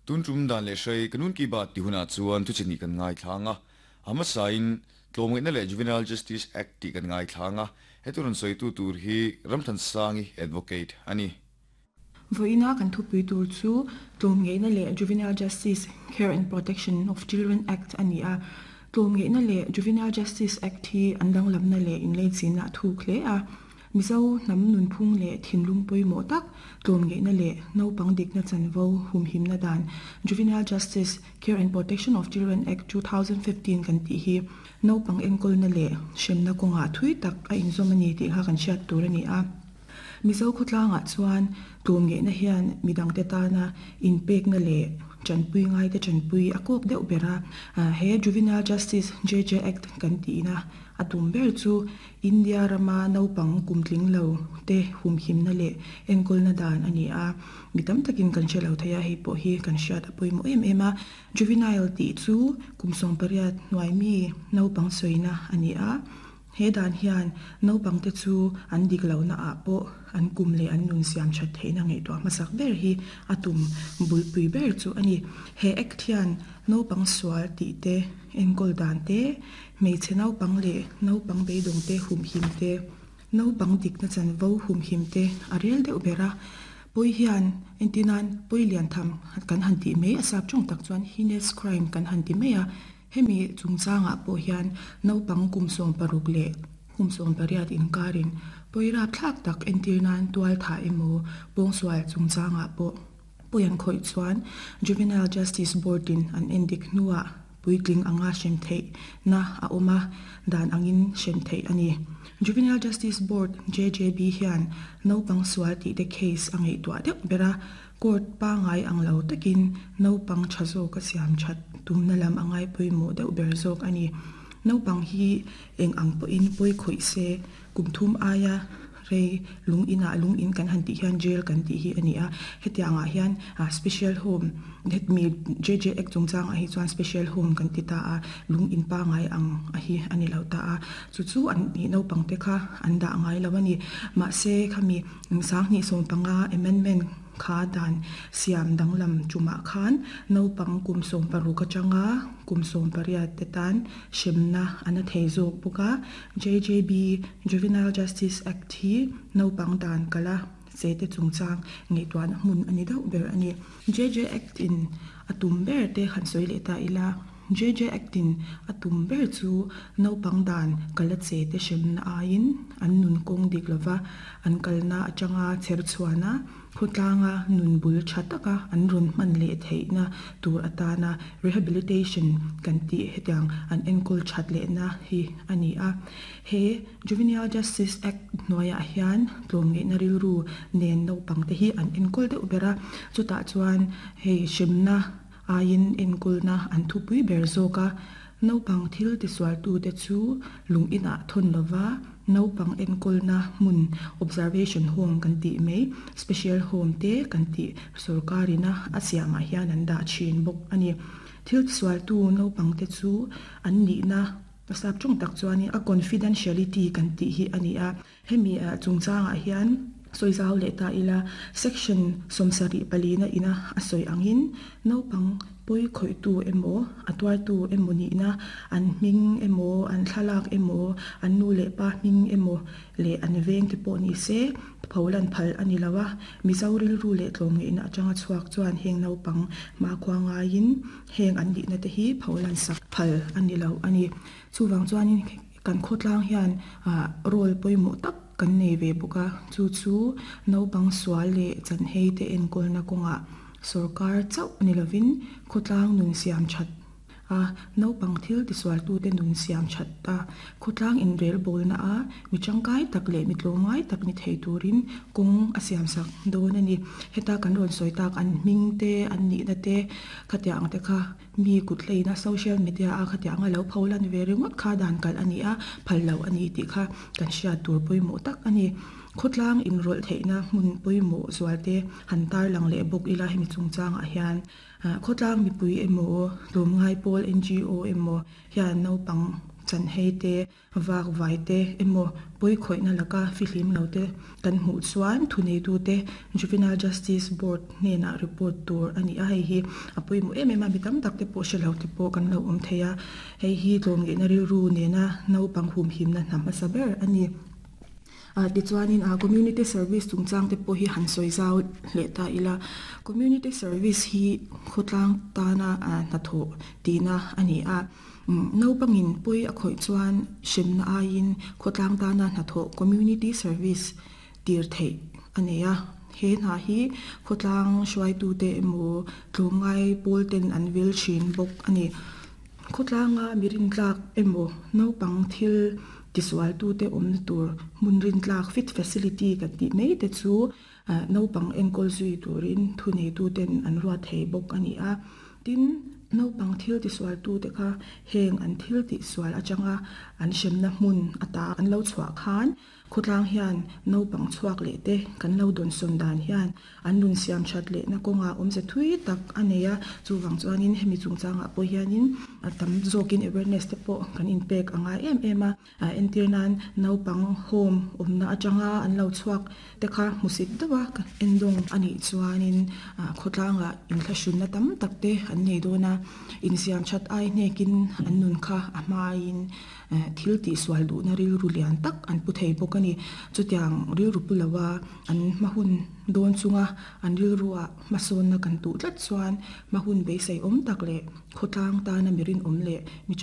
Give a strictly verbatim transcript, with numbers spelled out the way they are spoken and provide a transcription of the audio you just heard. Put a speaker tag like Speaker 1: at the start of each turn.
Speaker 1: Tun tum dan le hrei kanun ki baat ti huna chuan thu chini kan ngai thlanga ama sain tlawmngaihna leh Juvenile Justice Act ti kan ngai thlanga heturun soitu tur hi Ramthan Sangi advocate ani.
Speaker 2: Voina kan thupui tur chu tlawmngaihna leh Juvenile Justice Care and Protection of Children Act ani a. Tlawmngaihna leh Juvenile Justice Act hi an danglamna leh inleichina thuk hle a. Mizo hnam nunphung leh thinlung pawimawh tak tlawmngaihna leh naupang dikna chanvo humhimna dan Juvenile Justice Care and Protection of Children Act two thousand fifteen kan tih hi naupang enkawlna leh hremna kawngah thui tak a inzawm ani tih kha kan hriat tur ani a. Mizo khawtlangah chuan tlawmngaihna hian midangte tana inpekna leh chanpui ngai te chanpui a kawk deuh bera. He Juvenile Justice J J Act kan tihna a tum ber chu India rama naupang kumtling lo te humhimna leh enkawlna dan ani a. Mi tam takin kan hre lo theia hei pawh hi kan hriat a pawimawh em em a. Juvenile tih chu kum sawm pariat hnuai mi naupang sawina ani a. He dan hian naupang te chu an dik lo na ah pawh an kum leh an nun siam that theihna ngaihtuah hmasak ber hi a tum bulpui ber chu ani. He act hian naupang sual tih te enkawl dan te hmeichhe naupang leh naupang beidawng te humhim te naupang dikna chanvo humhim te a rel deuh bera. Pawih hian entinan pawi lian tham kan han tih mai a sap tawng tak chuan heinous crime kan han ti mai a. Hemi chungchangah pawh hian naupang kum sawm paruk leh kum sawm pariat inkarin pawi rap thlak tak entir nan tual tha emaw pawngsual chungchangah pawh pawi an khawih chuan Juvenile Justice Board in an endik hnuah puitling anga hrem theih na a awm a dan angin hrem theih ani. Juvenile Justice Board J J B hian naupang sual tih te case a ngaihtuah deuh bera. Court pangai ang lo takin naupang tha zawk a siam that tumna lam angai pawimawh deuh ber zawk ani. Naupang hi eng ang pawhin pawi khawih se kum thum aia rei lung inah lung in kan han tih hian jail kan tih hi ani a. Hetiangah hian special home mi J J Act chungchangah hi chuan special home kan ti ta a lung in pangai ang a hi ani lo ta a. Chu chu an ni naupang te kha an dah ngai lo ani. Mahse khami sanghnih sawm panga amendment kha dan siam danglam chumah khan naupang kum sawm paruk atanga kum sawm pariat te tan hremna an a thei zawk bawk a. J J B Juvenile Justice Act hi naupang dan kala che te chungchang ngaihtuahna hmun ani deuh ber ani. J J Act in a tum ber te han sawi leh ta ila. J J Act in a tum ber chu naupang dan kala che te hremna aiin an nun kawng dik lova an kalna atanga chher chhuana khawtlanga nun bul tha taka an rawn hman leh theihna tur atana rehabilitation kan tih hetiang an enkawl that lehna hi ani a. He Juvenile Justice Act hnuaiah hian tlawmngaihna rilru nen naupang te hi an enkawl deuh bera. Chutah chuan hei hremna aiin enkawlna an thupui ber zawk a. Naupang thil tisualtu te chu lung inah thawn lova naupang enkawlna hmun observation home kan tih mai special home te kan tih sorkarina a siamah hian an dah thin bawk ani. Thil tisualtu naupang te chu an nihna sap tawng tak chuanin a confidentiality kan tih hi ani a. Hemi chungchangah hian sawizau leh ta ila section sawmsarih palina ina a sawi angin naupang pawi khawihtu emaw a tuartu emaw nihna an hming emaw an thlalak emaw an nu leh pa hming emaw leh an veng te pawh ni se pholan phal ani lo a. Mizo rilru leh tlawmngaihna atanga chhuak chuan heng naupang hmakhua ngaiin heng an nihna te hi pholan sak phal ani lo ani. Chuwang chuanin kan khawtlang hian role pawimawh tak kan nei ve bawk a. Chu chu naupang sual leh chanhei te enkawlna kawngah sorkar chauh ani lovin khawtlang nun siam that a naupang thil tisualtu te nun siam that a khawtlang inrel bawlna a mi tangkai tak leh mi tlawmngai tak ni thei turin kawng a siam sak dawn ani. Heta kan rawn sawi tak an hming te an nihna te khatiang te kha mi kut hleina social media a khatiang a lo pholan ve ringawt kha dan kal ani a phal lo ani tih kha kan hriat tur pawimawh tak ani. Khawtlang inrawlh theihna hmun pawimawh zual te han tar lang leh bawk ila hemi chungchangah hian khawtlang mipui emaw tlawmngai pawl N G O emaw hian naupang chan hei te vak vai te emaw pawi khawihna laka fihlim lo te kan hmuh chuan thunei tu te Juvenile Justice Board hnenah report tur ani a hei hi a pawimawh em em a mi tam tak te pawh hrelo te pawh kan lo awm thei a hei hi tlawmngeihna rilru nena naupang humhimna hna hmasa ber ani a tichuanin a community service chungchang te pawh hi han sawi zau leh ta ila community service hi khawtlang tana a hnathawh tihna ani a naupangin pawi a khawih chuan hremna aiin khawtlang tana hnathawh community service tir theih ani a he hna hi khawtlang hruaitu te emaw tlawmngai pawl ten an vil thin bawk ani khawtlanga mirin tlak emaw naupang thil tisual tu te awmna tur hmun rin tlak fit facility kan tih mai te chu naupang enkawl zui turin thunei tu ten an ruat thei bawk ani a tin naupang thil tisual tu te kha heng an thil tihsual atanga an hremna hmun ata an lo chhuah khan khawtlang hian naupang chhuak leh te kan lo dawn sawn dan hian an nun siam that leh na kawnga awmze thui tak a nei a chuwang chuanin hemi chungchangah pawh hianin a tam zawkin awareness te pawh kan inpek a ngai em em a a entir nan naupang home awmna atanga an lo chhuak te kha hmusit deuha endawng anih chuanin a khawtlangah inthlahrunna tam tak te an nei dawn a insiam that ai hnekin an nun kha a hmain thil tihsual duhna rilru lian tak an pu thei bawk ani chutiang rilru pu loa an hma hun dawn chunga an rilru ah hmasawnna kan tuh tlat chuan hma hun beisei awm tak leh khawtlang tana mirin awm leh mi